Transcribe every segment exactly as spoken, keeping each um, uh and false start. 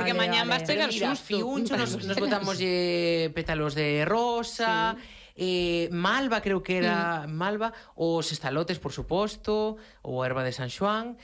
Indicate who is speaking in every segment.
Speaker 1: porque mañán vas chegar susto.
Speaker 2: Fiuncho, nos, nos botamos eh, pétalos de rosa... Sí. Eh, malva, creo que era mm. malva, os estalotes, por suposto, ou a erva de San Xoán.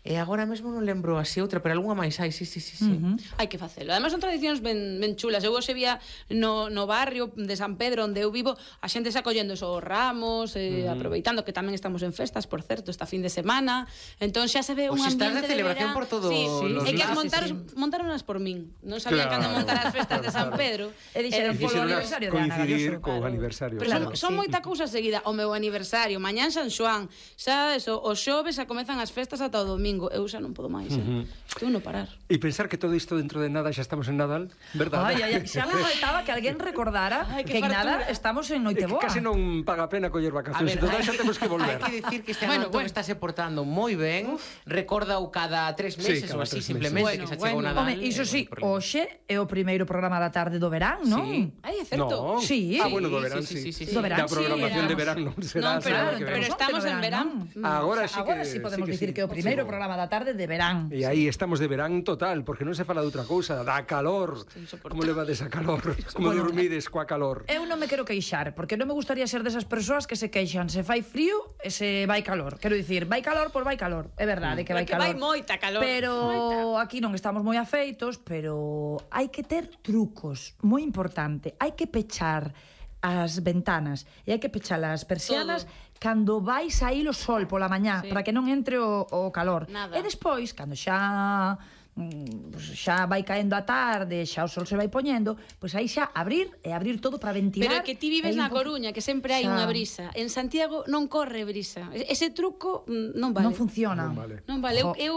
Speaker 2: E agora mesmo non lembro así outra, pero algunha máis hai, sí, sí, sí, sí.
Speaker 1: Uh-huh. Hai que facelo. Ademais son tradicións ben, ben chulas. Eu hoxe vía no, no barrio de San Pedro, onde eu vivo, a xente xa collendo os ramos, eh, uh-huh. aproveitando que tamén estamos en festas, por certo, esta fin de semana. Entón xa se ve un ambiente de
Speaker 2: celebración por todos
Speaker 1: sí,
Speaker 2: sí.
Speaker 1: los lados. É que as montaron,
Speaker 2: sí, sí.
Speaker 1: montaronas por min. Non sabían claro, cando montar as festas de San Pedro.
Speaker 3: E dixeron polo aniversario de Ana Galloso.
Speaker 4: Co aniversario.
Speaker 1: Pero son, son sí. moita cousa seguida. O meu aniversario, mañán San Xoán, xa eso, os xoves xa comezan as festas ata o domingo. Eu xa non podo máis, eh? Uh-huh. Estou no parar.
Speaker 4: E pensar que todo isto dentro de nada xa estamos en Nadal, verdade?
Speaker 3: Ai, ai, xa me faltaba que alguén recordara ay, que, que en nada estamos en Noiteboa.
Speaker 4: Que case non paga pena coller vacacións, entón xa temos que volver.
Speaker 2: Hai que dicir que este ano bueno, bueno. está se portando moi ben, recorda o cada tres meses ou así, simplemente,
Speaker 1: bueno,
Speaker 2: que xa
Speaker 1: bueno.
Speaker 2: chegou Nadal.
Speaker 3: Home, iso sí, hoxe é o primeiro programa da tarde do verán, non?
Speaker 2: Sí.
Speaker 1: Ai, é certo.
Speaker 4: No.
Speaker 3: Sí.
Speaker 4: Ah, bueno, do verán, sí.
Speaker 2: sí, sí, sí, sí.
Speaker 3: Do verán,
Speaker 4: da programación
Speaker 3: sí,
Speaker 4: de verán non será.
Speaker 1: Non, pero, pero estamos en verán.
Speaker 4: Agora sí que
Speaker 3: Agora sí podemos dicir que é o primeiro programa da tarde de verán.
Speaker 4: E aí estamos de verán total, porque non se fala de outra cousa, da calor. Como levades a calor? Como bueno, dormides coa calor?
Speaker 3: Eu non me quero queixar, porque non me gustaría ser desas persoas que se queixan se fai frío e se vai calor. Quero dicir, vai calor por vai calor. É verdade que vai calor.
Speaker 1: Que vai moita calor.
Speaker 3: Pero moita. Aquí non estamos moi afeitos, pero hai que ter trucos, moi importante. Hai que pechar as ventanas e hai que pechar as persianas todo. Cando vai saír o sol pola mañá, sí. para que non entre o, o calor.
Speaker 1: Nada.
Speaker 3: E despois, cando xa pues xa vai caendo a tarde, xa o sol se vai poñendo, pois pues aí xa abrir e abrir todo para ventilar.
Speaker 1: Pero que ti vives na Coruña, que sempre hai xa... unha brisa. En Santiago non corre brisa. Ese truco non vale.
Speaker 3: Non funciona.
Speaker 4: Non vale.
Speaker 1: Non vale. Eu, eu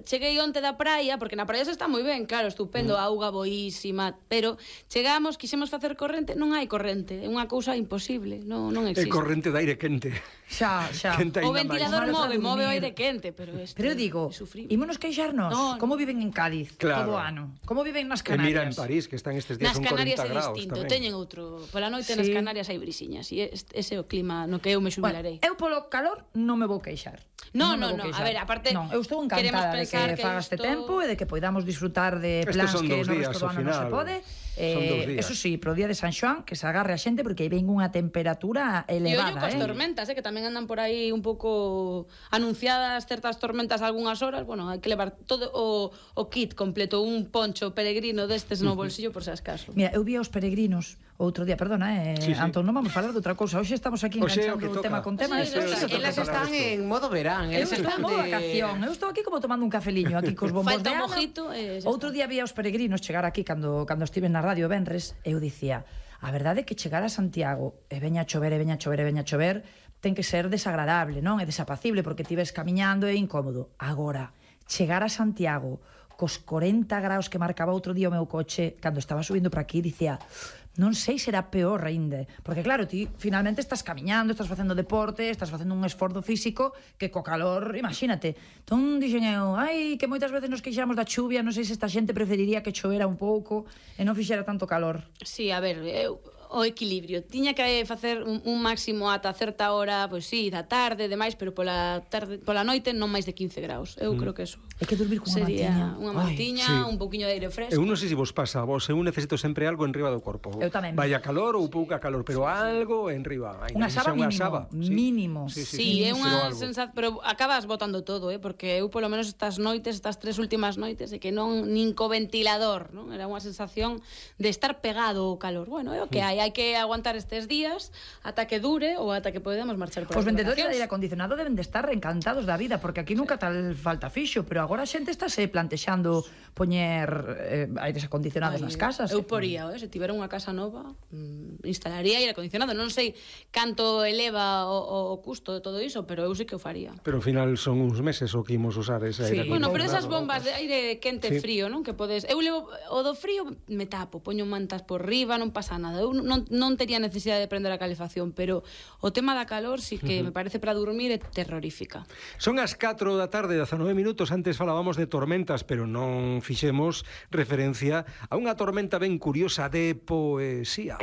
Speaker 1: cheguei onte da praia, porque na praia se está moi ben, claro, estupendo, mm. auga boísima, pero chegamos, quixemos facer corrente, non hai corrente, é unha cousa imposible, non, non existe.
Speaker 4: É corrente de aire quente.
Speaker 3: Xa, xa.
Speaker 1: O ventilador move, move o aire quente, pero este
Speaker 3: Pero eu digo, ímonos queixarnos, no, como viven en Cádiz claro. todo o ano? Como viven nas Canarias?
Speaker 4: E mira en París, que están estes días
Speaker 1: son
Speaker 4: corenta graus.
Speaker 1: Nas Canarias é distinto, teñen outro. Pola noite sí. nas Canarias hai brisiñas, e ese é o clima no que eu me xubilarei.
Speaker 3: Bueno, eu polo calor non me vou queixar.
Speaker 1: No, no, no, no. A ver, aparte
Speaker 3: non, eu estou encantada de que, que faga este esto... tempo e de que podamos disfrutar de plans que no resto do ano non se pode. Eh, eso sí, pro día de San Xoán que se agarre a xente porque aí ven unha temperatura elevada.
Speaker 1: E ollo coas
Speaker 3: eh?
Speaker 1: tormentas, eh, que tamén andan por aí un pouco anunciadas certas tormentas algunhas horas. Bueno, hai que levar todo o, o kit completo, un poncho peregrino destes no bolsillo por se acaso.
Speaker 3: Mira, eu vi aos peregrinos outro día, perdona, eh, sí, sí. Antón, non vamos falar de outra cousa. Hoxe estamos aquí enganchando o tema con tema.
Speaker 2: Sí, elas están en modo verán, elas están
Speaker 3: en modo vacación. Eu estou aquí como tomando un cafeliño aquí cos bombos de Ana.
Speaker 1: Mojito, eh,
Speaker 3: outro día vi aos peregrinos chegar aquí cando cando estive na radio Benres, eu dicía, a verdade é que chegar a Santiago e veña a chover, e veña a chover, e veña a chover, ten que ser desagradable, non? É desapacible porque ti ves camiñando e incómodo. Agora, chegar a Santiago cos corenta graus que marcaba outro día o meu coche cando estaba subindo para aquí, dicía, non sei será peor aínda, porque claro, ti finalmente estás camiñando, estás facendo deporte, estás facendo un esforzo físico que co calor, imagínate. Entón dixen eu, ai, que moitas veces nos queixamos da chuvia, non sei se esta xente preferiría que chovera un pouco e non fixera tanto calor.
Speaker 1: Sí, a ver, eu o equilibrio. Tiña que facer un, un máximo ata certa hora, pois pues, sí, da tarde, demais, pero pola tarde, pola noite non máis de quince graus. Eu mm. creo que eso.
Speaker 3: Hai que dormir con unha mantiña.
Speaker 1: Unha mantiña, sí. un pouquiño de aire fresco.
Speaker 4: Eu non sei se vos pasa a vos, eu necesito sempre algo enriba do corpo.
Speaker 3: Eu tamén.
Speaker 4: Vaya calor ou pouca calor, pero algo enriba.
Speaker 3: Unha saba mínimo. Saba. Sí. Mínimo.
Speaker 1: Sí, sí, sí, sí, é unha sensación, pero acabas botando todo, eh, porque eu polo menos estas noites, estas tres últimas noites, e que non nin co ventilador, non? Era unha sensación de estar pegado ao calor. Bueno, é o que hai, hai que aguantar estes días ata que dure ou ata que podemos marchar por
Speaker 3: os vendedores de aire acondicionado deben de estar encantados da vida, porque aquí nunca sí. tal falta fixo, pero agora a xente estáse plantexando poñer eh, aires acondicionados Ay, nas casas.
Speaker 1: Eu poría, eh, se tivera unha casa nova, mm, instalaría aire acondicionado. Non sei canto eleva o, o custo de todo iso, pero eu sei que o faría.
Speaker 4: Pero ao final son uns meses o que imos usar ese
Speaker 1: sí.
Speaker 4: aire acondicionado.
Speaker 1: Bueno, pero esas bombas de aire quente sí. frío, non? Que podes... Eu levo o do frío me tapo, poño mantas por riba, non pasa nada. Eu non, non tería necesidade de prender a calefacción, pero o tema da calor sí que uh-huh. me parece para dormir é terrorífica.
Speaker 4: Son as catro da tarde, dezanove minutos. Antes falábamos de tormentas, pero non fixemos referencia a unha tormenta ben curiosa de poesía.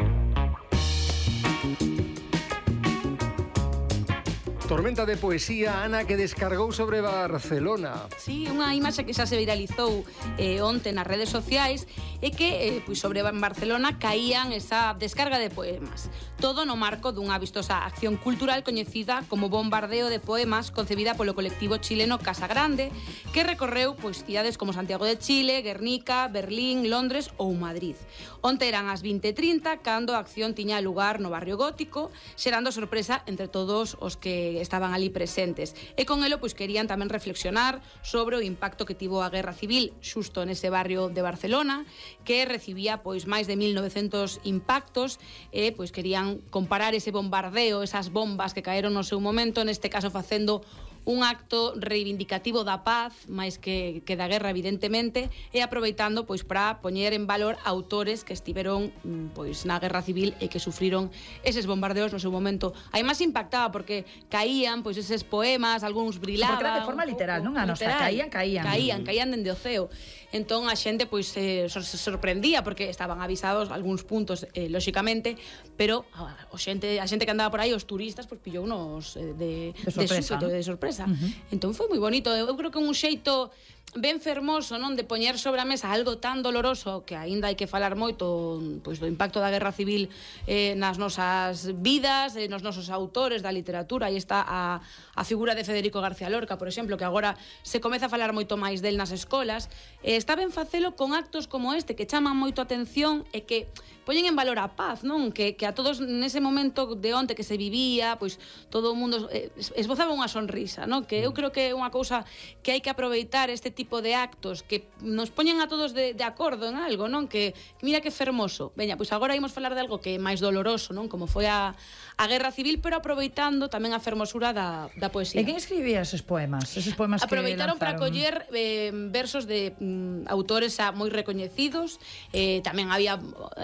Speaker 4: tormenta de poesía, Ana, que descargou sobre Barcelona.
Speaker 1: Sí, unha imaxe que xa se viralizou eh, onte nas redes sociais é que eh, pois sobre Barcelona caían esa descarga de poemas. Todo no marco dunha vistosa acción cultural coñecida como Bombardeo de Poemas, concebida polo colectivo chileno Casa Grande, que recorreu pois cidades como Santiago de Chile, Guernica, Berlín, Londres ou Madrid. Onte eran as vinte e trinta cando a acción tiña lugar no barrio gótico, xerando sorpresa entre todos os que estaban ali presentes. E con elo pois querían tamén reflexionar sobre o impacto que tivo a Guerra Civil xusto nese barrio de Barcelona, que recibía pois máis de mil novecentos impactos e pois querían comparar ese bombardeo, esas bombas que caeron no seu momento, neste caso facendo un acto reivindicativo da paz, máis que, que da guerra, evidentemente, e aproveitando pois para poñer en valor autores que estiveron pois na Guerra Civil e que sufriron eses bombardeos no seu momento. Aí máis impactaba porque caían pois eses poemas, algúns brilaban.
Speaker 3: Porque era de forma literal, non? A nosa caían, caían.
Speaker 1: Caían, caían dende o ceo. Entón a xente pois se, se sorprendía porque estaban avisados algúns puntos, eh, lóxicamente, pero a, a xente a xente que andaba por aí, os turistas, pois pillounos eh, de,
Speaker 3: de sorpresa,
Speaker 1: de,
Speaker 3: ¿no?
Speaker 1: de sorpresa.
Speaker 3: Uh-huh.
Speaker 1: Entón foi moi bonito. Eu creo que un xeito ben fermoso, non, de poñer sobre a mesa algo tan doloroso que aínda hai que falar moito pois do impacto da Guerra Civil eh, nas nosas vidas, eh, nos nosos autores da literatura. Aí está a, a figura de Federico García Lorca, por exemplo, que agora se comeza a falar moito máis del nas escolas. Eh, está ben facelo con actos como este que chaman moito a atención e que poñen en valor a paz, non? Que, que a todos nese momento de onte que se vivía, pois todo o mundo eh, esbozaba unha sonrisa, non? Que eu creo que é unha cousa que hai que aproveitar, este tipo de actos que nos poñen a todos de, de acordo en algo, non? Que, que mira que fermoso. Veña, pois agora imos falar de algo que é máis doloroso, non? Como foi a, a Guerra Civil, pero aproveitando tamén a fermosura da, da poesía.
Speaker 3: E quen escribía eses poemas? Eses poemas
Speaker 1: Aproveitaron
Speaker 3: que
Speaker 1: para coller eh, versos de mm, autores xa moi recoñecidos. Eh, tamén había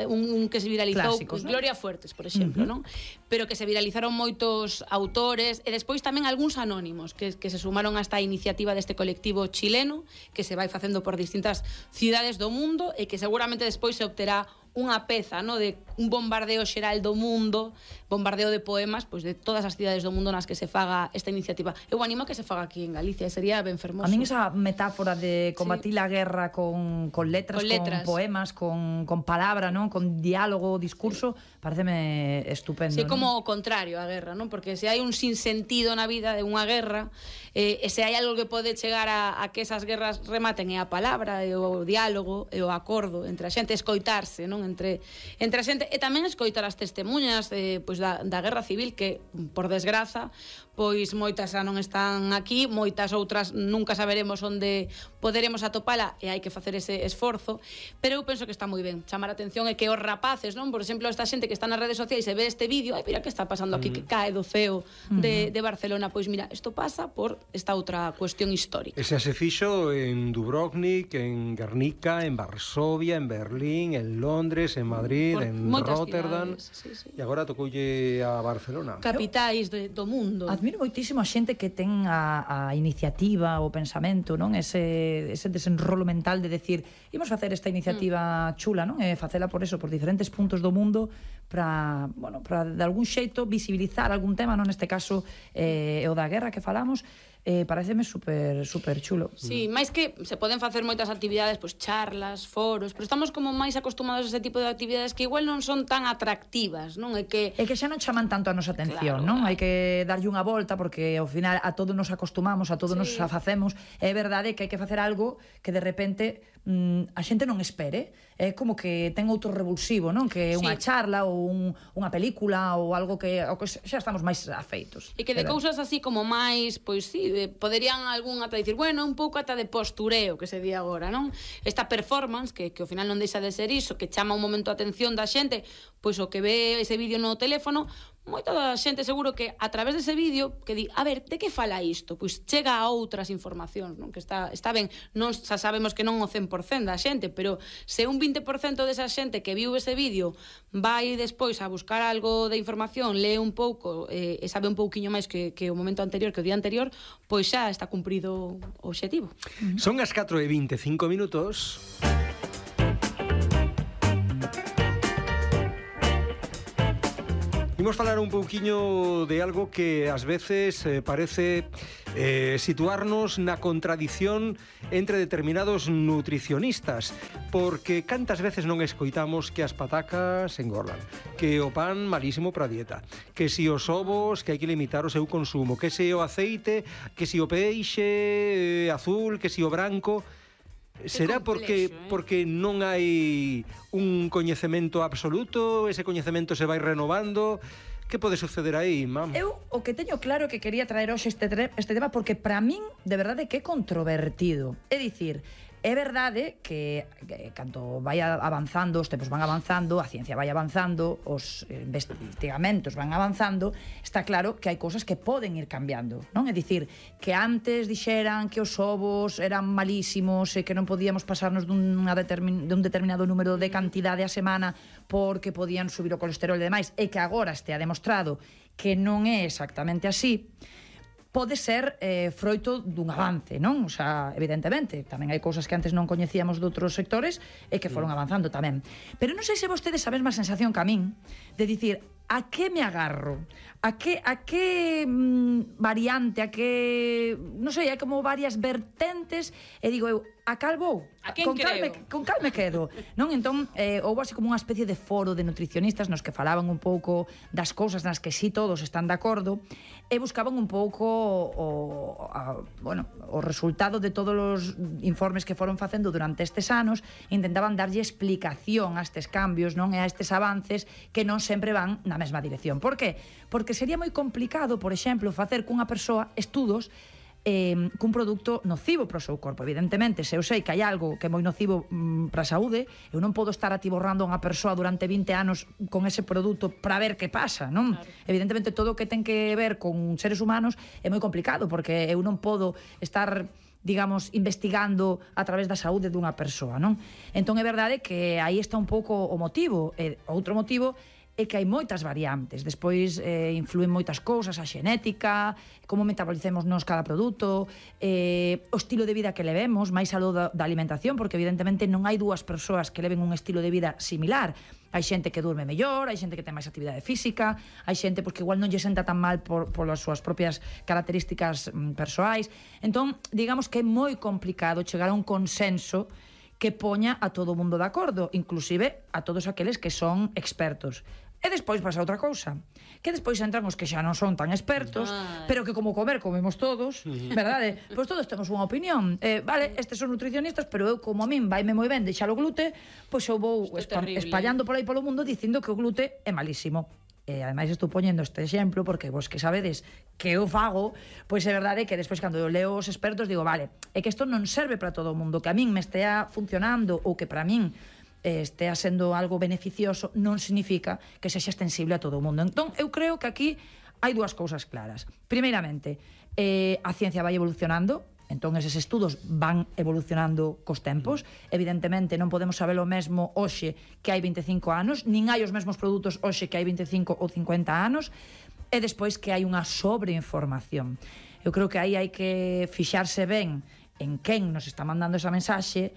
Speaker 1: un, un que se viralizou,
Speaker 3: clásicos, ¿no?
Speaker 1: Gloria Fuertes, por exemplo, uh-huh. non? Pero que se viralizaron moitos autores e despois tamén algúns anónimos que, que se sumaron a esta iniciativa deste colectivo chileno que se vai facendo por distintas cidades do mundo e que seguramente despois se obterá unha peza, no, de un bombardeo xeral do mundo, bombardeo de poemas, pois de todas as cidades do mundo nas que se faga esta iniciativa. Eu animo a que se faga aquí en Galicia, sería ben fermoso.
Speaker 3: A min esa metáfora de combatir sí. a guerra con, con letras, con, letras. con poemas, con, con palabra, non, con diálogo, discurso, sí. pareceme estupendo.
Speaker 1: Sí,
Speaker 3: non?
Speaker 1: como o contrario a guerra, non? Porque se hai un sinsentido na vida de unha guerra, eh, e se hai algo que pode chegar a, a que esas guerras rematen é a palabra, e o diálogo, e o acordo entre a xente, escoitarse, non? Entre, entre a xente, e tamén escoitar as testemunhas eh, pois da, da Guerra Civil, que, por desgraza, pois moitas xa non están aquí, moitas outras nunca saberemos onde poderemos atopala e hai que facer ese esforzo, pero eu penso que está moi ben chamar a atención e que os rapaces, non? Por exemplo, esta xente que está nas redes sociais e ve este vídeo, ai, mira que está pasando aquí, que cae do ceo de, de Barcelona, pois mira, isto pasa por esta outra cuestión histórica.
Speaker 4: Ese se fixo en Dubrovnik, en Guernica, en Varsovia, en Berlín, en Londres, en Madrid, por en Rotterdam, sí, sí. E agora tocoulle a Barcelona.
Speaker 1: Capitais de, do mundo.
Speaker 3: Admiro moitísimo a xente que ten a, a iniciativa, o pensamento, non? Ese, ese desenrolo mental de decir, imos facer esta iniciativa mm. chula, non? E facela por eso, por diferentes puntos do mundo, para, bueno, para de algún xeito visibilizar algún tema, non? Neste caso, eh, o da guerra que falamos, eh, pareceme super, super chulo.
Speaker 1: Sí, máis que se poden facer moitas actividades, pois charlas, foros, pero estamos como máis acostumados a ese tipo de actividades que igual non son tan atractivas, non? É que
Speaker 3: é que xa non chaman tanto a nosa atención, claro, non? Hai que darlle unha volta porque ao final a todos nos acostumamos, a todos sí. nos facemos. É verdade que hai que facer algo que de repente mm, a xente non espere. É como que ten outro revulsivo, non? Que é unha sí. charla ou un, unha película ou algo que, o que xa estamos máis afeitos.
Speaker 1: E que de cousas así como máis, pois sí, poderían algún ata dicir, bueno, un pouco ata de postureo, que se di agora, non? Esta performance, que, que ao final non deixa de ser iso, que chama un momento a atención da xente, pois o que ve ese vídeo no teléfono, moita da xente seguro que a través dese vídeo que di, a ver, de que fala isto? Pois chega a outras informacións, non? Que está, está ben, non xa sabemos que non o cen por cento da xente, pero se un vinte por cento desa xente que viu ese vídeo vai despois a buscar algo de información, lee un pouco eh, e sabe un pouquiño máis que, que o momento anterior, que o día anterior, pois xa está cumprido o obxectivo.
Speaker 4: Son as catro e vinte e cinco minutos. Imos falar un pouquiño de algo que ás veces eh, parece eh, situarnos na contradición entre determinados nutricionistas, porque cantas veces non escoitamos que as patacas engordan, que o pan malísimo para a dieta, que si os ovos que hai que limitar o seu consumo, que si o aceite, que si o peixe eh, azul, que si o branco. Será porque
Speaker 1: complexo, eh?
Speaker 4: porque non hai un coñecemento absoluto, ese coñecemento se vai renovando. Que pode suceder aí, mam?
Speaker 3: Eu o que teño claro que quería traer hoxe este, este tema porque para min de verdade que é controvertido. É dicir, é verdade que, que canto vai avanzando, os tempos van avanzando, a ciencia vai avanzando, os investigamentos van avanzando, está claro que hai cousas que poden ir cambiando, non? É dicir, que antes dixeran que os ovos eran malísimos e que non podíamos pasarnos dunha determin, dun determinado número de cantidade a semana porque podían subir o colesterol e demais, e que agora estea demostrado que non é exactamente así, pode ser eh, froito dun avance, non? O sea, evidentemente, tamén hai cousas que antes non coñecíamos de outros sectores e que foron avanzando tamén. Pero non sei se vostedes a mesma sensación que a min de dicir, a que me agarro? A que, a que mm, variante, a que... Non sei, hai como varias vertentes e digo eu, a cal vou?
Speaker 1: A quen
Speaker 3: con cal me,
Speaker 1: creo?
Speaker 3: con cal me quedo? Non? Entón, eh, houve así como unha especie de foro de nutricionistas nos que falaban un pouco das cousas nas que sí todos están de acordo e buscaban un pouco o, a, bueno, o resultado de todos os informes que foron facendo durante estes anos, intentaban darlle explicación a estes cambios, non? E a estes avances que non sempre van na mesma dirección. Por que? Porque sería moi complicado, por exemplo, facer cunha persoa estudos eh, cun produto nocivo para o seu corpo. Evidentemente, se eu sei que hai algo que é moi nocivo mm, para a saúde, eu non podo estar atiborrando a unha persoa durante vinte anos con ese produto para ver que pasa, non? Claro. Evidentemente, todo o que ten que ver con seres humanos é moi complicado, porque eu non podo estar, digamos, investigando a través da saúde dunha persoa, non? Entón, é verdade que aí está un pouco o motivo. E outro motivo é que hai moitas variantes. Despois eh, influen moitas cousas, a xenética, como metabolicemos nos cada produto, eh, o estilo de vida que levemos, máis aló da, da alimentación, porque evidentemente non hai dúas persoas que leven un estilo de vida similar. Hai xente que durme mellor, hai xente que ten máis actividade física, hai xente pois, que igual non lle senta tan mal por, por as súas propias características mm, persoais. Entón, digamos que é moi complicado chegar a un consenso que poña a todo o mundo de acordo, inclusive a todos aqueles que son expertos. E despois pasa outra cousa, que despois entran os que xa non son tan expertos, Ay. pero que como comer comemos todos, verdade? Pois todos temos unha opinión. Eh, vale, estes son nutricionistas, pero eu como a min vaime moi ben deixar o glute, pois eu vou espa espallando por aí polo mundo dicindo que o glute é malísimo. E ademais estou poñendo este exemplo porque vos que sabedes que eu fago, pois é verdade que despois cando eu leo os expertos digo, vale, é que isto non serve para todo o mundo, que a min me estea funcionando ou que para min estea sendo algo beneficioso non significa que sexa extensible a todo o mundo. Entón, eu creo que aquí hai dúas cousas claras. Primeiramente, eh, a ciencia vai evolucionando, entón eses estudos van evolucionando cos tempos. Evidentemente non podemos saber o mesmo hoxe que hai veinticinco anos, nin hai os mesmos produtos hoxe que hai veinticinco ou cincuenta anos, e despois que hai unha sobreinformación. Eu creo que aí hai que fixarse ben en quen nos está mandando esa mensaxe,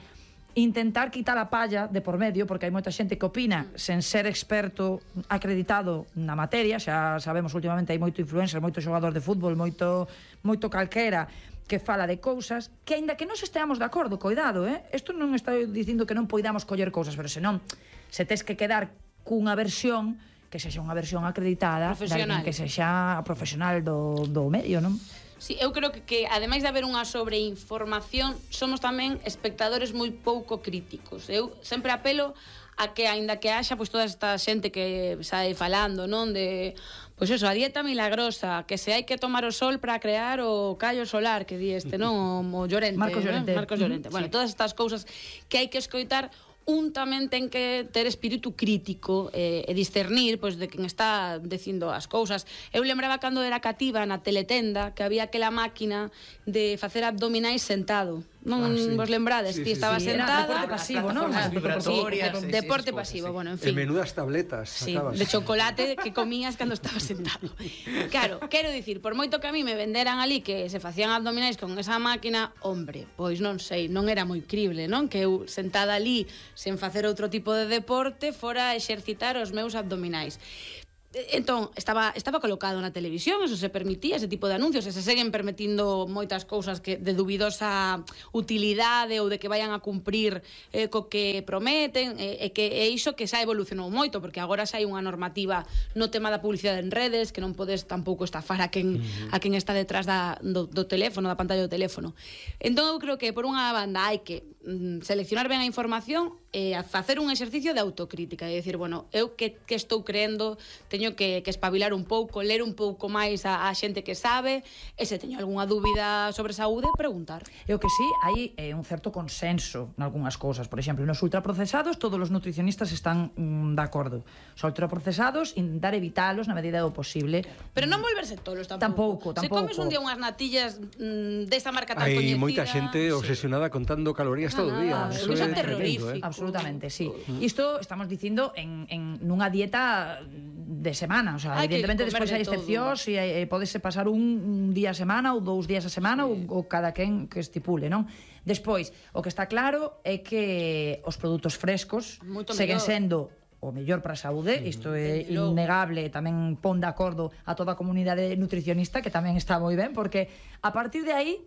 Speaker 3: intentar quitar a palla de por medio, porque hai moita xente que opina sen ser experto acreditado na materia. Xa sabemos últimamente hai moito influencer, moito xogador de fútbol, moito moito calquera que fala de cousas que, aínda que non se esteamos de acordo, coidado, eh? Isto non está dicindo que non poidamos coller cousas, pero senón, se tes que quedar cunha versión que sexa unha versión acreditada, de alguén que sexa profesional do, do medio, non?
Speaker 1: Sí, eu creo que, que ademais de haber unha sobreinformación, somos tamén espectadores moi pouco críticos. Eu sempre apelo a que, aínda que haxa pois toda esta xente que sae falando, non, de pois eso, a dieta milagrosa, que se hai que tomar o sol para crear o callo solar, que di este, non, o, o Llorente,
Speaker 3: Marcos Llorente.
Speaker 1: ¿no? Marcos Llorente. Uh -huh, bueno, sí. Todas estas cousas que hai que escoitar, un tamén ten que ter espírito crítico eh, e discernir pois, de quen está dicindo as cousas. Eu lembraba cando era cativa na teletenda que había aquela máquina de facer abdominais sentado. Non ah, sí. vos lembrades? Sí, sí, Ti estaba sí, sentada...
Speaker 3: Deporte pasivo, non?
Speaker 1: Vibratorias. Sí, deporte pasivo, sí, bueno, en fin.
Speaker 4: En menudas tabletas
Speaker 1: sí,
Speaker 4: sacabas.
Speaker 1: De chocolate que comías cando estabas sentado. Claro, quero dicir, por moito que a mí me venderan ali que se facían abdominais con esa máquina, hombre, pois non sei, non era moi crible, non? Que eu sentada ali sen facer outro tipo de deporte fora a exercitar os meus abdominais. Entón, estaba, estaba colocado na televisión, eso se permitía, ese tipo de anuncios, e se seguen permitindo moitas cousas que de dubidosa utilidade ou de que vayan a cumprir eh, co que prometen, e, e que é iso que xa evolucionou moito, porque agora xa hai unha normativa no tema da publicidade en redes, que non podes tampouco estafar a quen, uh-huh. a quen está detrás da, do, do teléfono, da pantalla do teléfono. Entón, eu creo que por unha banda hai que mm, seleccionar ben a información e a facer un exercicio de autocrítica, e dicir, bueno, eu que, que estou creendo, teño que, que espabilar un pouco, ler un pouco máis a, a xente que sabe, e se teño algunha dúbida sobre saúde, preguntar.
Speaker 3: E o que sí, hai eh, un certo consenso nalgúnas cousas. Por exemplo, nos ultraprocesados todos os nutricionistas están mm, de acordo. Os ultraprocesados, intentar evitalos na medida do posible.
Speaker 1: Pero non volverse tolos tampouco.
Speaker 3: Tampouco, tampouco.
Speaker 1: Se comes un día unhas natillas mm, desta marca tan
Speaker 4: hai
Speaker 1: coñecida...
Speaker 4: Hai moita xente obsesionada contando calorías todo o día.
Speaker 1: Ah,
Speaker 4: Eso
Speaker 1: é
Speaker 4: é
Speaker 1: terrorífico.
Speaker 4: tremendo, eh?
Speaker 3: Absolutamente, sí. Uh-huh. Isto estamos dicindo en, en nunha dieta de semana, o sea,
Speaker 1: hai
Speaker 3: evidentemente despois
Speaker 1: de
Speaker 3: hai excepcións e eh, podese pasar un, un día a semana ou dous días a semana, sí. ou, ou cada quen que estipule, non? Despois, o que está claro é que os produtos frescos
Speaker 1: Moito
Speaker 3: seguen
Speaker 1: mellor.
Speaker 3: sendo o mellor para a saúde, mm. isto é
Speaker 1: Logo.
Speaker 3: innegable, tamén pon de acordo a toda a comunidade nutricionista, que tamén está moi ben, porque a partir de aí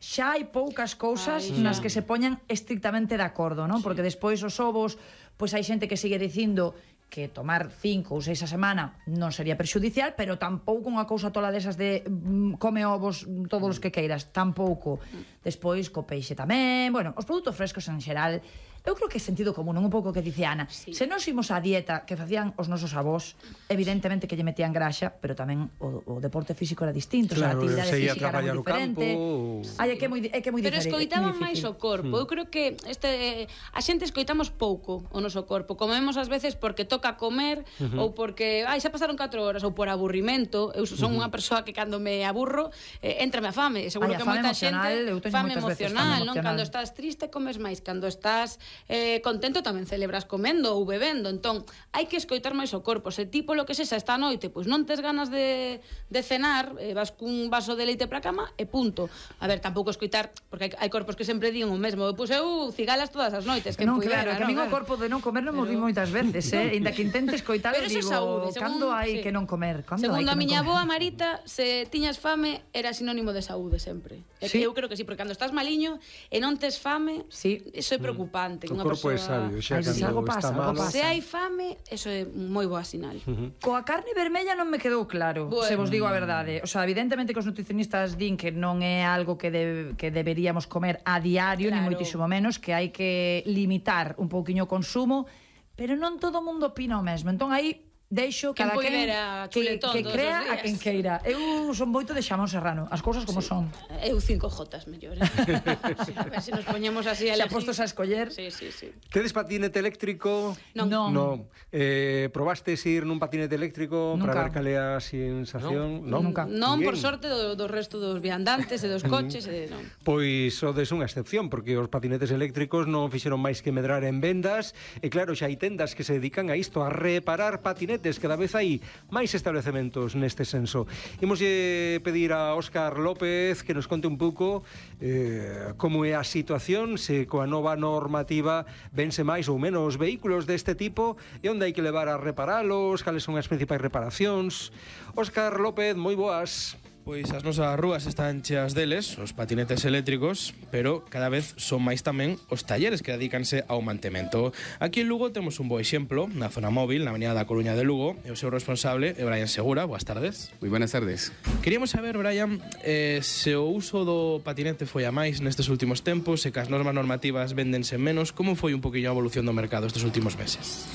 Speaker 3: xa hai poucas cousas
Speaker 1: Ay,
Speaker 3: nas que se poñan estrictamente de acordo, non? Sí. Porque despois os ovos, pois hai xente que sigue dicindo que tomar cinco ou seis a semana non sería perxudicial, pero tampouco unha cousa tola desas de mm, come ovos todos os que queiras, tampouco. Despois co peixe tamén, bueno, os produtos frescos en xeral, eu creo que é sentido común, un pouco que dice Ana. Sí. Se nós imos á dieta que facían os nosos avós, evidentemente que lle metían graxa, pero tamén o, o deporte físico era distinto,
Speaker 4: claro,
Speaker 3: o sea, a actividade física era moi diferente.
Speaker 4: Campo,
Speaker 3: Ai, é que é moi, é que é moi
Speaker 1: Pero
Speaker 3: diferente.
Speaker 1: escoitaban máis o corpo.
Speaker 4: Hmm.
Speaker 1: Eu creo que este a xente escoitamos pouco o noso corpo. Comemos ás veces porque toca comer uh-huh. ou porque, ai, xa pasaron catro horas ou por aburrimento. Eu son uh-huh. unha persoa que cando me aburro, eh, entrame a fame. Seguro
Speaker 3: ai,
Speaker 1: que
Speaker 3: fame
Speaker 1: moita xente
Speaker 3: eu teño
Speaker 1: fame emocional,
Speaker 3: veces,
Speaker 1: non? Cando estás triste comes máis, cando estás eh, contento tamén celebras comendo ou bebendo. Entón, hai que escoitar máis o corpo. Se tipo lo que sexa esta noite, pois non tes ganas de, de cenar, eh, vas cun vaso de leite para a cama e punto. A ver, tampouco escoitar, porque hai, hai corpos que sempre din o mesmo. Pois eu cigalas todas as noites, que
Speaker 3: non,
Speaker 1: puidera,
Speaker 3: claro, que a min o corpo de non comer non mo di moitas veces, eh? Inda que intente escoitar,
Speaker 1: pero
Speaker 3: digo,
Speaker 1: saúde,
Speaker 3: cando hai
Speaker 1: sí.
Speaker 3: que non comer? Cando
Speaker 1: Segundo
Speaker 3: hai que
Speaker 1: a miña
Speaker 3: non comer?
Speaker 1: avoa Marita, se tiñas fame era sinónimo de saúde sempre.
Speaker 3: Sí?
Speaker 1: Eu creo que sí, porque cando estás maliño e non tes fame,
Speaker 3: sí.
Speaker 1: Eso é preocupante.
Speaker 4: O
Speaker 1: Unha
Speaker 4: corpo
Speaker 1: persoa...
Speaker 4: é sabio, xa
Speaker 3: Ai, si algo
Speaker 4: cando
Speaker 3: pasa,
Speaker 4: está
Speaker 3: algo
Speaker 4: malo.
Speaker 3: pasa.
Speaker 1: Se hai fame, eso é moi boa sinal.
Speaker 4: Uh-huh.
Speaker 3: Coa carne vermella non me quedou claro,
Speaker 1: bueno.
Speaker 3: se vos digo a verdade. O sea, evidentemente que os nutricionistas din que non é algo que, de, que deberíamos comer a diario,
Speaker 1: Claro.
Speaker 3: ni moitísimo menos, que hai que limitar un pouquiño o consumo, pero non todo o mundo opina o mesmo. Entón aí deixo
Speaker 1: Quen
Speaker 3: cada quen
Speaker 1: poidera
Speaker 3: que,
Speaker 1: chuletón
Speaker 3: que
Speaker 1: todos
Speaker 3: crea
Speaker 1: os
Speaker 3: a
Speaker 1: días.
Speaker 3: quen queira. Eu son moito de Xamón Serrano, as cousas como
Speaker 1: Sí.
Speaker 3: son.
Speaker 1: Eu cinco jotas mellor. Eh? Sí, a ver se nos poñemos así a
Speaker 3: Xa
Speaker 1: elegir.
Speaker 3: postos a escoller.
Speaker 1: Sí, sí, sí.
Speaker 4: Tedes patinete eléctrico?
Speaker 1: Non.
Speaker 3: Non.
Speaker 4: No. Eh, probastes ir nun patinete eléctrico
Speaker 3: Nunca.
Speaker 4: para ver cal é a sensación?
Speaker 3: No. Nunca.
Speaker 1: Non, por
Speaker 4: Bien.
Speaker 1: sorte, do, do resto dos viandantes e dos coches, e non.
Speaker 4: Pois sodes unha excepción, porque os patinetes eléctricos non fixeron máis que medrar en vendas, e claro, xa hai tendas que se dedican a isto, a reparar patinetes, cada vez hai máis establecementos neste senso. Imoslle pedir a Óscar López que nos conte un pouco eh, como é a situación, se coa nova normativa vense máis ou menos vehículos deste tipo, e onde hai que levar a reparalos, cales son as principais reparacións. Óscar López, moi boas.
Speaker 5: Pois as nosas rúas están cheas deles, os patinetes eléctricos, pero cada vez son máis tamén os talleres que dedícanse ao mantemento. Aquí en Lugo temos un bo exemplo, na zona móvil, na avenida da Coruña de Lugo, e o seu responsable é Brian Segura. Boas tardes.
Speaker 6: Moi buenas tardes.
Speaker 5: Queríamos saber, Brian, eh, se o uso do patinete foi a máis nestes últimos tempos, se que as normas normativas véndense menos, como foi un poquinho a evolución do mercado estes últimos meses?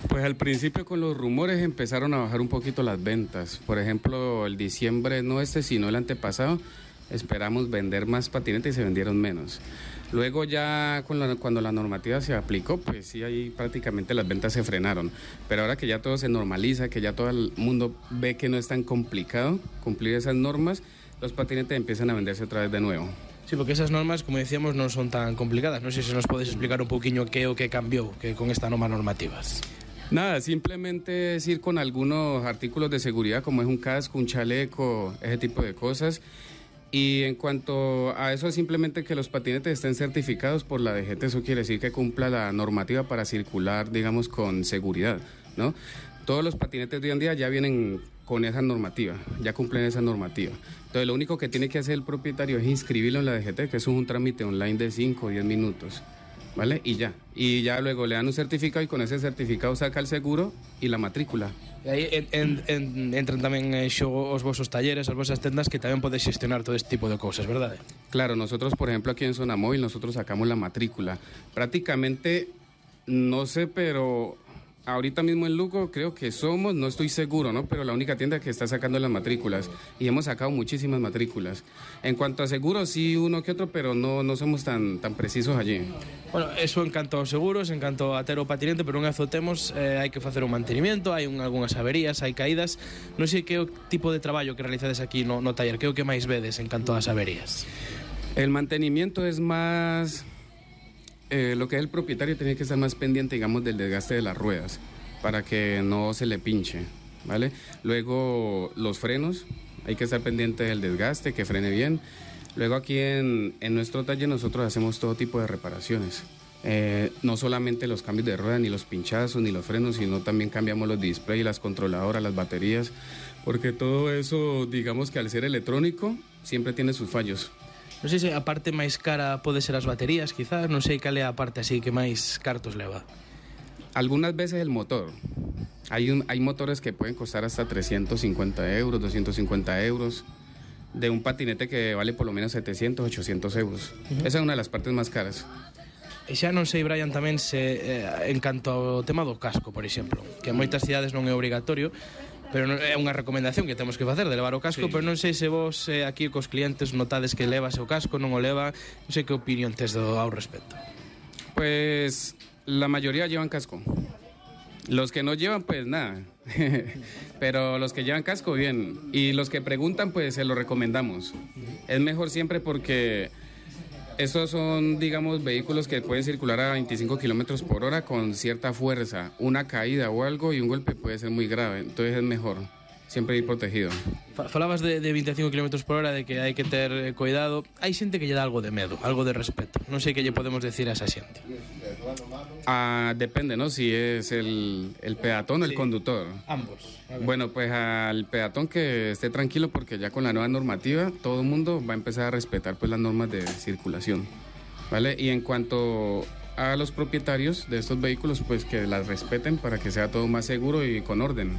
Speaker 6: Pues al principio con los rumores empezaron a bajar un poquito las ventas. Por ejemplo, el diciembre, no este, sino el antepasado, esperamos vender más patinetes y se vendieron menos. Luego ya con la, cuando la normativa se aplicó, pues sí, ahí prácticamente las ventas se frenaron. Pero ahora que ya todo se normaliza, que ya todo el mundo ve que no es tan complicado cumplir esas normas, los patinetes empiezan a venderse otra vez de nuevo.
Speaker 5: Sí, porque esas normas, como decíamos, non son tan complicadas. Non sei se nos podes explicar un poquinho que o que cambiou que con esta norma normativas.
Speaker 6: Nada, simplemente es ir con algunos artículos de seguridad, como es un casco, un chaleco, ese tipo de cosas. Y en cuanto a eso, simplemente que los patinetes estén certificados por la D G T, eso quiere decir que cumpla la normativa para circular, digamos, con seguridad, ¿no? Todos los patinetes de hoy en día ya vienen con esa normativa, ya cumplen esa normativa. Entonces lo único que tiene que hacer el propietario es inscribirlo en la D G T, que es un trámite online de cinco o diez minutos, ¿vale? Y ya, y ya luego le dan un certificado y con ese certificado saca el seguro y la matrícula.
Speaker 5: E aí en, en, en, entran tamén en xogo os vosos talleres, as vosas tendas, que tamén podes xestionar todo este tipo de cousas, verdade?
Speaker 6: Claro, nosotros por ejemplo aquí en Zona Móvil nosotros sacamos la matrícula. Prácticamente, no sé, pero ahorita mismo en Lugo creo que somos, no estoy seguro, ¿no? Pero la única tienda que está sacando las matrículas y hemos sacado muchísimas matrículas. En cuanto a seguros, sí uno que otro, pero no, no somos tan, tan precisos allí.
Speaker 5: Bueno, eso en canto aos seguros, en canto a ter o patinete, pero unha vez o temos, eh, hai que facer un mantenimiento, hai un, algunhas averías, hai caídas. Non sei que o tipo de traballo que realizades aquí no, no taller, que é o que máis vedes en canto ás averías?
Speaker 6: El mantenimiento es más... Eh, lo que es el propietario tiene que estar más pendiente, digamos, del desgaste de las ruedas para que no se le pinche, ¿vale? Luego los frenos, hay que estar pendiente del desgaste, que frene bien. Luego aquí en, en nuestro taller nosotros hacemos todo tipo de reparaciones. Eh, no solamente los cambios de rueda, ni los pinchazos, ni los frenos, sino también cambiamos los displays, las controladoras, las baterías, porque todo eso, digamos que al ser electrónico, siempre tiene sus fallos.
Speaker 5: Non sei se a parte máis cara pode ser as baterías, quizás, non sei cal é a parte así que máis cartos leva.
Speaker 6: Algunas veces el motor. Hay, un, hay motores que pueden costar hasta trescientos cincuenta euros, doscientos cincuenta euros, de un patinete que vale por lo menos setecientos, ochocientos euros. Uh-huh. Esa es una de las partes más caras.
Speaker 5: E xa non sei, Brian, tamén se eh, en canto ao tema do casco, por exemplo, que en moitas cidades non é obrigatorio, pero non, é unha recomendación que temos que facer de levar o casco, sí. Pero non sei se vos eh, aquí cos clientes notades que levas o casco, non o leva, non sei que opinión tes do, ao respecto.
Speaker 6: Pues la mayoría llevan casco. Los que no llevan, pues nada. Pero los que llevan casco, bien. Y los que preguntan, pues se lo recomendamos. Es mejor siempre porque estos son, digamos, vehículos que pueden circular a veinticinco kilómetros por hora con cierta fuerza. Una caída o algo y un golpe puede ser muy grave. Entonces es mejor siempre ir protegido.
Speaker 5: Falabas de, de veinticinco kilómetros por hora, de que hai que ter cuidado. Hai xente que lle dá algo de medo, algo de respeto. Non sei que lle podemos decir a esa xente.
Speaker 6: Ah, depende, ¿no? Si es el, el peatón o el sí, conductor.
Speaker 5: Ambos.
Speaker 6: Bueno, pues al peatón que esté tranquilo porque ya con la nueva normativa todo el mundo va a empezar a respetar pues las normas de circulación, ¿vale? Y en cuanto a los propietarios de estos vehículos, pues que las respeten para que sea todo más seguro y con orden.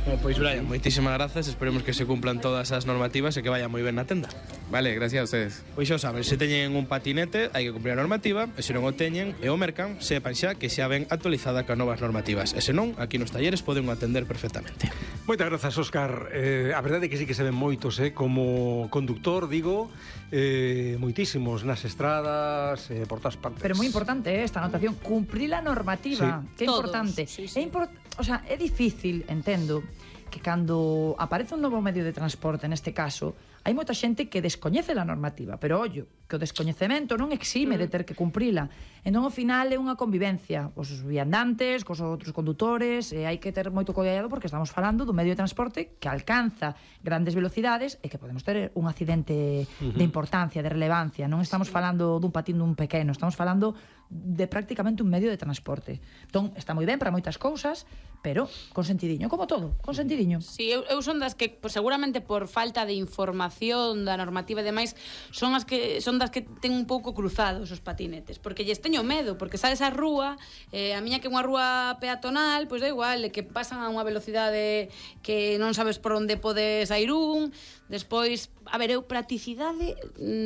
Speaker 5: Bueno, pois Brian, moitísimas grazas, esperemos que se cumplan todas as normativas e que vaya moi ben na tenda.
Speaker 6: Vale, gracias a ustedes.
Speaker 5: Pois xa saben, se teñen un patinete hai que cumplir a normativa, e se non o teñen e o mercan, sepan xa que xa ven actualizada con novas normativas, e se non, aquí nos talleres poden atender perfectamente.
Speaker 4: Moitas grazas, Óscar. Eh, a verdade é que sí que se ven moitos, eh, como conductor, digo, eh, moitísimos nas estradas, eh, por todas partes.
Speaker 3: Pero moi importante, eh, esta anotación, cumprir a normativa, sí. Que é importante.
Speaker 1: Sí, sí.
Speaker 3: É import... o sea, é difícil, entendo, que cando aparece un novo medio de transporte, neste caso, hai moita xente que descoñece a normativa, pero ollo, que o descoñecemento non exime de ter que cumprila. Entón, ao final, é unha convivencia os viandantes, cos outros condutores, e hai que ter moito cuidado porque estamos falando dun medio de transporte que alcanza grandes velocidades e que podemos ter un accidente uh-huh. de importancia, de relevancia. Non estamos falando dun patín dun pequeno, estamos falando de prácticamente un medio de transporte. Entón, está moi ben para moitas cousas, pero con sentidiño, como todo, con sentidiño.
Speaker 1: Sí, eu, eu son das que, pues, seguramente por falta de información da normativa e demais, son as que son das que ten un pouco cruzados os patinetes, porque lles teño medo, porque sales á rúa, eh, a miña que é unha rúa peatonal, pois da igual, que pasan a unha velocidade que non sabes por onde podes sair un. Despois, a ver, eu practicidade,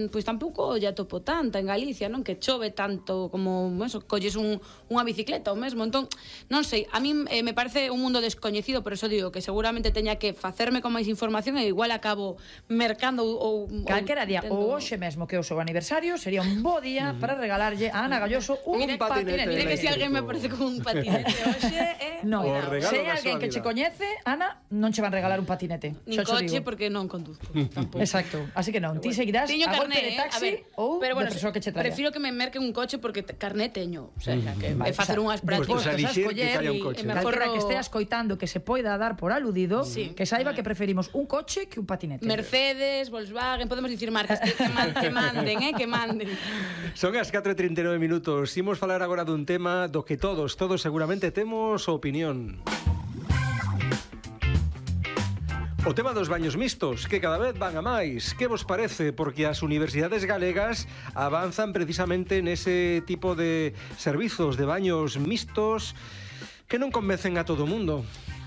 Speaker 1: pois tampouco ya topo tanta en Galicia, non? Que chove tanto como, eso, colles un, unha bicicleta ou mesmo. Entón, non sei, a mí eh, me parece un mundo descoñecido, por eso digo que seguramente teña que facerme con máis información e igual acabo mercando ou...
Speaker 3: Calquera día, ou hoxe mesmo que é o seu aniversario, sería un bo día uh-huh. para regalarlle a Ana Galloso un
Speaker 1: mire,
Speaker 3: patinete.
Speaker 1: Mire que se si alguén me parece con un patinete hoxe, eh...
Speaker 3: No, se hai alguén que che coñece, Ana, non che van regalar un patinete.
Speaker 1: Nin coche, porque non conduzco. Tampouco.
Speaker 3: Exacto, así que non, ti seguirás
Speaker 1: teño
Speaker 3: a golpe
Speaker 1: carné,
Speaker 3: de taxi
Speaker 1: eh?
Speaker 3: ou
Speaker 1: pero bueno,
Speaker 3: de persoa que che traia.
Speaker 1: Prefiro que me merquen un coche porque carné teño, o sea, que
Speaker 3: vale,
Speaker 1: é facer unhas prácticas,
Speaker 4: pues, pues, que haya un coche.
Speaker 3: Calquera que estea escoitando que se poida dar por aludido,
Speaker 1: sí,
Speaker 3: que saiba
Speaker 1: vale.
Speaker 3: que preferimos un coche que un patinete.
Speaker 1: Mercedes, Volkswagen, podemos dicir marcas que, que, man, que manden, eh, que manden.
Speaker 4: Son as catro e trinta e nove minutos. Imos falar agora dun tema do que todos, todos seguramente temos opinión. O tema dos baños mixtos, que cada vez van a máis. Que vos parece? Porque as universidades galegas avanzan precisamente nese tipo de servizos de baños mixtos que non convencen a todo o mundo.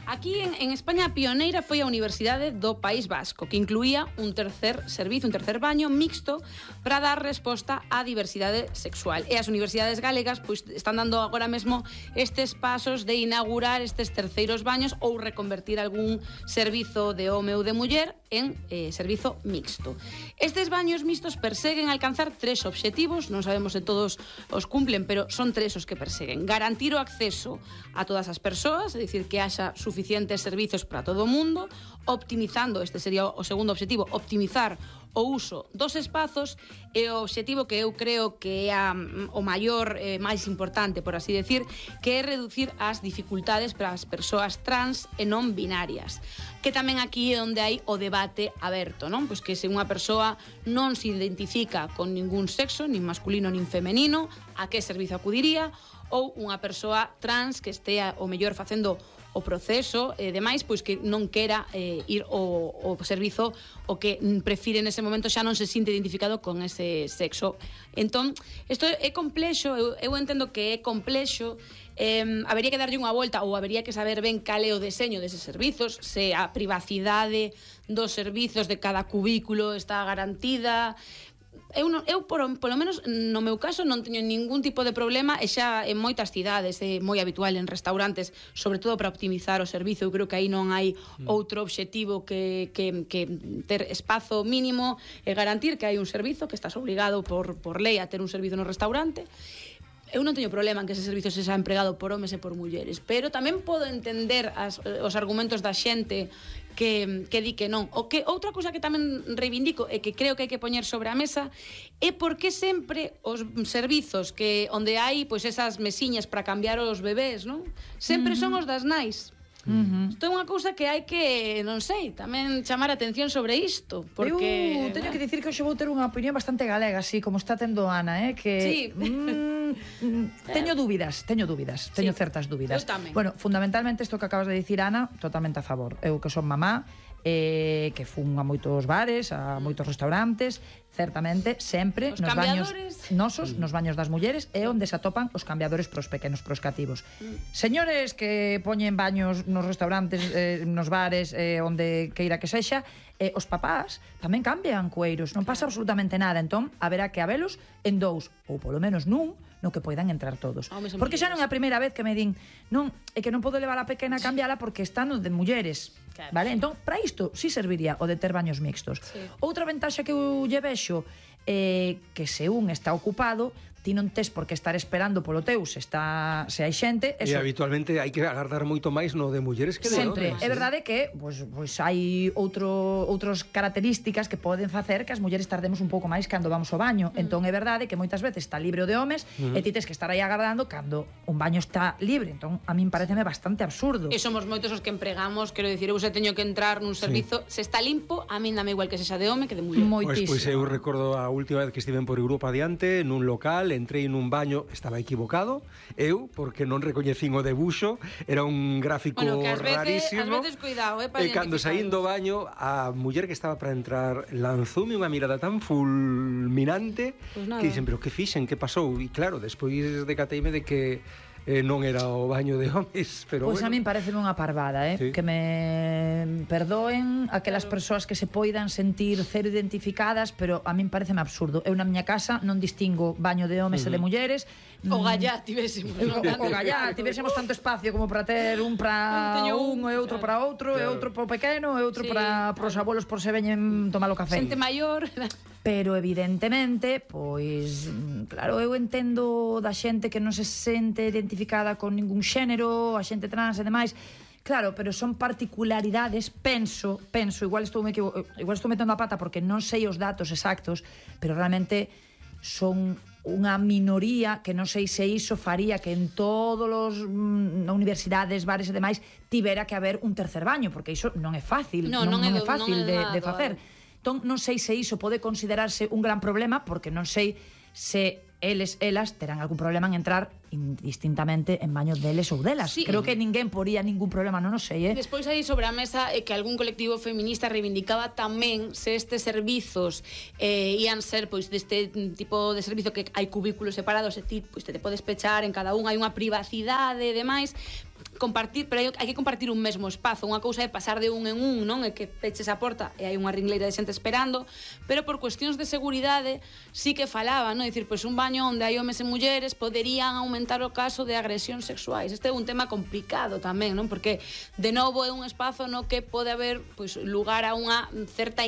Speaker 1: Aquí en, en España a pioneira foi a Universidade do País Vasco, que incluía un tercer servizo, un tercer baño mixto para dar resposta á diversidade sexual. E as universidades galegas pois, están dando agora mesmo estes pasos de inaugurar estes terceiros baños ou reconvertir algún servizo de home ou de muller en eh, servizo mixto. Estes baños mixtos perseguen alcanzar tres obxectivos, non sabemos se todos os cumplen, pero son tres os que perseguen. Garantir o acceso a todas as persoas, é dicir, que haxa suficientes servizos para todo o mundo, optimizando, este sería o segundo obxectivo, optimizar o uso dos espazos, e o obxectivo que eu creo que é a, o maior, eh, máis importante, por así decir, que é reducir as dificultades para as persoas trans e non binarias. Que tamén aquí é onde hai o debate aberto, non? Pois que se unha persoa non se identifica con ningún sexo, nin masculino nin femenino, a que servizo acudiría? Ou unha persoa trans que estea o mellor facendo o proceso e demais, pois que non quera eh, ir ao, ao servizo o que prefire nese momento xa non se sinte identificado con ese sexo. Entón, isto é complexo, eu, eu entendo que é complexo, eh, habería que darlle unha volta ou habería que saber ben cal é o deseño deses servizos, se a privacidade dos servizos de cada cubículo está garantida. Eu, non, eu por, polo menos no meu caso non teño ningún tipo de problema, e xa en moitas cidades é moi habitual en restaurantes, sobre todo para optimizar o servizo. Eu creo que aí non hai outro obxectivo que, que, que ter espazo mínimo e garantir que hai un servizo, que estás obligado por, por lei a ter un servizo no restaurante. Eu non teño problema en que ese servizo se xa empregado por homes e por mulleres, pero tamén podo entender as, os argumentos da xente que, que di que non. O que outra cousa que tamén reivindico e que creo que hai que poñer sobre a mesa é por que sempre os servizos que onde hai pois esas mesiñas para cambiar os bebés, non? Sempre uh-huh. son os das nais. Uh-huh. Isto é unha cousa que hai que, non sei, tamén chamar a atención sobre isto, porque
Speaker 3: eu teño que dicir que hoxe vou ter unha opinión bastante galega, así como está tendo Ana, eh, que
Speaker 1: sí.
Speaker 3: mm, teño dúbidas, teño dúbidas, teño sí. certas dúbidas.
Speaker 1: Eu tamén.
Speaker 3: Bueno, fundamentalmente isto que acabas de dicir, Ana, totalmente a favor. Eu que son mamá, eh, que fun a moitos bares, a moitos restaurantes, certamente sempre os nos baños nosos, nos baños das mulleres é onde se atopan os cambiadores pros pequenos, pros cativos. Mm. Señores que poñen baños nos restaurantes, eh, nos bares, eh, onde queira que sexa, eh, os papás tamén cambian cueiros, non pasa absolutamente nada. Entón, haberá que habelos en dous, ou polo menos nun, no que poidan entrar todos. Porque xa non é a primeira vez que me din, non, é que non podo levar a pequena a cambiala porque están os de mulleres. Claro. Vale? Entón, para isto sí serviría o de ter baños mixtos. Sí. Outra ventaxa que eu lle vexo é que se un está ocupado, ti non tes por que estar esperando polo teu se está se hai xente, eso.
Speaker 4: E habitualmente hai que agardar moito máis no de mulleres que de
Speaker 3: sempre.
Speaker 4: homes.
Speaker 3: É verdade que pois pois hai outro outras características que poden facer que as mulleres tardemos un pouco máis cando vamos ao baño. Mm. Entón é verdade que moitas veces está libre o de homes mm. e ti tes que estar aí agardando cando un baño está libre. Entón a min pareceme bastante absurdo.
Speaker 1: E somos moitos os que empregamos, quero dicir, eu se teño que entrar nun servizo, sí. se está limpo, a min dame igual que sexa de home que de muller.
Speaker 3: Moitísimo.
Speaker 4: Pois, pois eu recordo a última vez que estiven por Europa adiante, nun local, entrei nun baño, estaba equivocado, eu, porque non recoñecín o debuxo, era un gráfico
Speaker 1: bueno, que
Speaker 4: rarísimo.
Speaker 1: Ás veces, cuidado, eh, para
Speaker 4: e cando saín do baño, a muller que estaba para entrar lanzoume unha mirada tan fulminante pues que dixen, pero que fixen, que pasou? E claro, despois decateime de que eh, non era o baño de homes, pero
Speaker 3: pois
Speaker 4: bueno.
Speaker 3: A min parece unha parvada, eh? Sí. Que me perdoen aquelas claro. persoas que se poidan sentir cero identificadas, pero a min pareceme absurdo. Eu na miña casa non distingo baño de homes uh -huh. e de mulleres.
Speaker 1: O gallá tivésemos.
Speaker 3: O, o gallá tivésemos tanto espacio como para ter un para un e outro para outro, claro. e outro para o pequeno, e outro sí. para pros abuelos por se veñen tomar o café.
Speaker 1: Xente maior.
Speaker 3: Pero evidentemente, pois, claro, eu entendo da xente que non se sente identificada con ningún xénero, a xente trans e demais. Claro, pero son particularidades, penso, penso, igual estou me equivo... igual estou metendo a pata porque non sei os datos exactos, pero realmente son unha minoría que non sei se iso faría que en todos os mm, universidades, bares e demais tivera que haber un tercer baño, porque iso non é fácil,
Speaker 1: no,
Speaker 3: non,
Speaker 1: non,
Speaker 3: non
Speaker 1: é,
Speaker 3: é fácil
Speaker 1: non é
Speaker 3: de,
Speaker 1: nada,
Speaker 3: de facer. Entón, non sei se iso pode considerarse un gran problema, porque non sei se eles, elas terán algún problema en entrar indistintamente en baños deles ou delas.
Speaker 1: Sí.
Speaker 3: Creo que ninguén poría ningún problema, non o sei, eh?
Speaker 1: Despois aí sobre a mesa é que algún colectivo feminista reivindicaba tamén se estes servizos eh, ian ser pois deste tipo de servizo que hai cubículos separados e ti pois te, te podes pechar en cada un, hai unha privacidade e demais, compartir, pero hai, hai que compartir un mesmo espazo. Unha cousa é pasar de un en un, non? É que peches a porta e hai unha ringleira de xente esperando, pero por cuestións de seguridade sí que falaba, non? É dicir, pois un baño onde hai homes e mulleres poderían aumentar o caso de agresións sexuais. Este é un tema complicado tamén, non? Porque de novo é un espazo no que pode haber pois lugar a unha certa